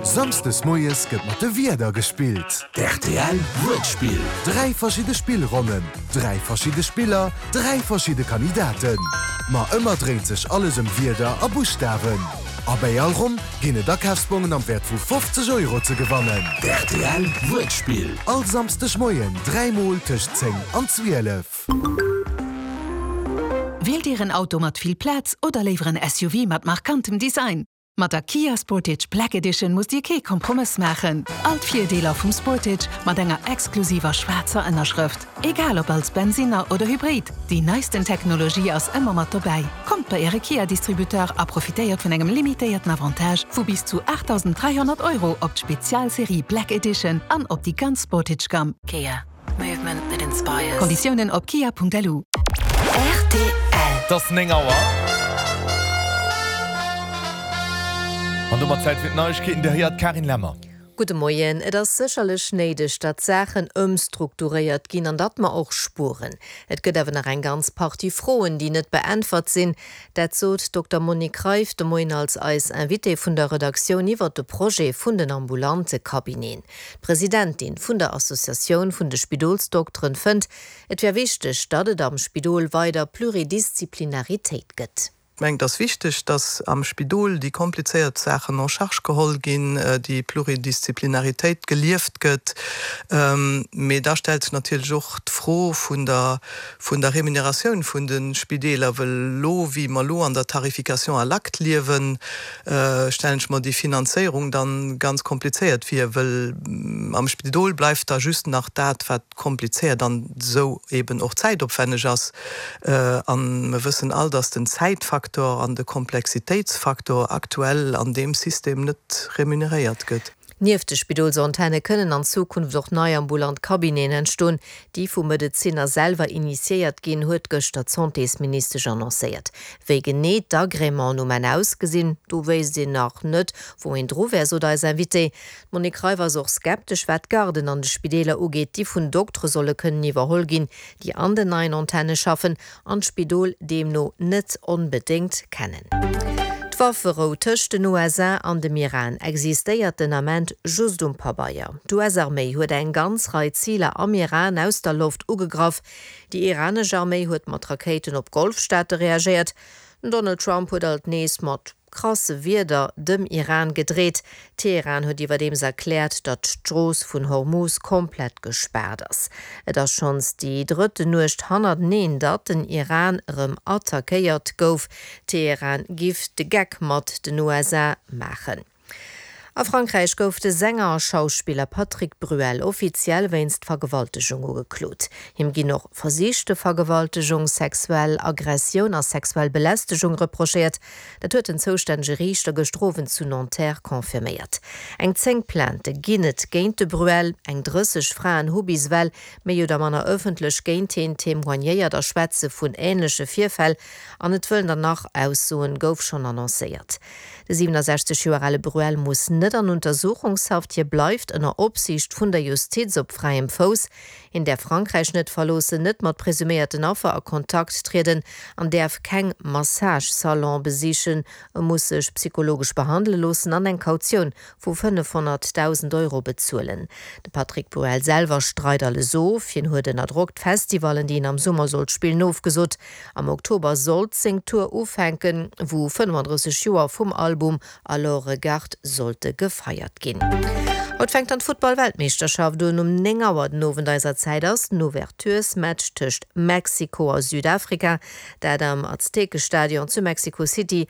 Samsdes moies gëtt mat de Wierder gespillt. D'RTL Wuertspill. 3 verschidde Spillronnen, 3 verschidde Spiller, 3 verschidde Kandidaten. Ma ëmmer dréint sech alles ëm Wierder a Buschtawen. A bäi all Ronn ginn et Akafsbongen am Wäert vu 50 Euro ze gewannen. D'RTL Wuertspill. All Samsdeg Moien 3 mol tëscht 10 an 12. Wielt Dir en Auto mat vill Plaz oder léiwer en SUV mat markantem Design? Mat der Kia Sportage Black Edition musst Dir kee Kompromëss maachen. All d'Virdeeler vum Sportage mat enger exklusiver schwaarzer Ënnerschrëft. Egal ob als Bensinner oder Hybrid, déi neisten Technologie ass ëmmer mat dobäi. Kommt bei Äre Kia-Distributeur a profitéiert vun engem limitéierten Avantage vu bis zu 8.300 Euro op d'Spezialserie Black Edition an op déi ganz Sportage-Gamm. Kia. Movement that inspires. Konditiounen op kia.lu. Rtl. Et ass 9 Auer. An domat Zäit fir d'Neiegkeeten. Dir héiert d'Karin Lemmer. Gudde Moien. Et ass sécherlech néideg, datt Saachen ëmstrukturéiert ginn an datt mer och spueren. Et gëtt awer nach eng ganz Partie Froen, déi net beäntwert sinn. Dat sot d'Dokter Monique Reiff de Moien als eis Invitée vun der Redaktioun iwwert de Projet vun den ambulante Cabineten. D'Presidentin vun der Associatioun vun de Spidolsdokteren fënnt, et wär wichteg, datt et am Spidol weider Pluridisziplinaritéit gëtt. Ech mengen, et ass wichteg, datt am Spidol déi komplizéiert Saachen en charge geholl ginn, déi Pluridisziplinaritéit gelieft gëtt. Mee da stellt sech natierlech och d'Fro vun der, vun der Remuneratioun vun de Spideeler, wëll elo, wéi mer elo an der Tarification à l'acte liewen, stellen ech mer déi Finanzéierung dann ganz komplizéiert vir, wëll am Spidol bleift da just nach dat, wat komplizéiert an esou eben och zäitopwänneg ass. An mer wëssen all, dass den Zäitfaktor an de Komplexitéitsfaktor aktuell an deem System net remuneréiert gëtt. Nieft de Spidolsantenne kënnen an Zukunft och nei ambulant Cabineten entstoen, déi vu Medezinner selwer initiéiert ginn, huet gëschter d'Santésministesch annoncéiert. Wéi genee d'Agrémenten um Enn ausgesinn, do wéisst een nach net, wou een dru wär, sot eis Invitée. D'Monique Reiff ass och skeptesch, wat d'Garden an de Spideeler ugeet, déi vun Doktere solle kënnen iwwerholl ginn, déi an den neien Antenne schaffen an d'Spidol deemno net onbedéngt kennen. D'Wafferou tëscht den USA an dem Iran existéiert den Ament just um Pabeier. D'US-Arméi huet eng ganz Rei Ziler am Iran aus der Loft ugegraff. Déi iranesch Arméi huet mat Rakéiten op Golfstaate reagéiert. Den Donald Trump huet alt nees mat krasse Wierder dem Iran gedreet. Teheran huet iwwerdeems erkläert, datt d'Strooss vun Hormuz komplett gespaart ass. Et ass schonns déi drëtten Nuecht hannerteneen, datt den Iran erëm attackéiert gouf. Teheran giff de Geck mat den USA maachen. A Frankräich gouf de Sänger a Schauspiller Patrick Bruel offiziell wéinst Vergewaltegung ugeklot. Him ginn och versichte Vergewaltegung, sexuell Aggressioun a sexuell Belästegung reprochéiert. Dat huet den zoustännege Riichter gëschter Owend zu Nanterre confirméiert. Eng 10 Plaintë ginn et géint de Bruel. Eng 30 Fraen hu bis ewell méi oder manner ëffentlech géint hien témoignéiert a schwätze vun änleche Virfäll. An et wëllen der nach aussoen, gouf schonn annoncéiert. De 67 Joer ale Bruel muss net an Untersuchungshaft, hie bleift ënner Opsiicht vun der Justiz op fräiem Fouss. Hien däerf Frankräich net verloossen, net mat presuméierten Affer a Kontakt trieden an däerf keng Massage-Salon besichen. E muss sech psychologesch behandele loossen an eng Kautioun vu 500.000 Euro bezuelen. De Patrick Bruel selwer streit alles of. Hien huet ënner Drock d'Festivallen, déi en am Summer sollt spillen, ofgesot. Am Oktober sollt seng Tour ufänken, wou 35 Joer vum Album Alors Regarde sollte gefeiert ginn. Haut fänkt dann d'Futtball-Weltmeeschterschaft un. Um 9 Auer den Owend eiser Zäit ass den Ouverturesmatch tëscht Mexiko a Südafrika, dat am Aztekestadion zu Mexico City.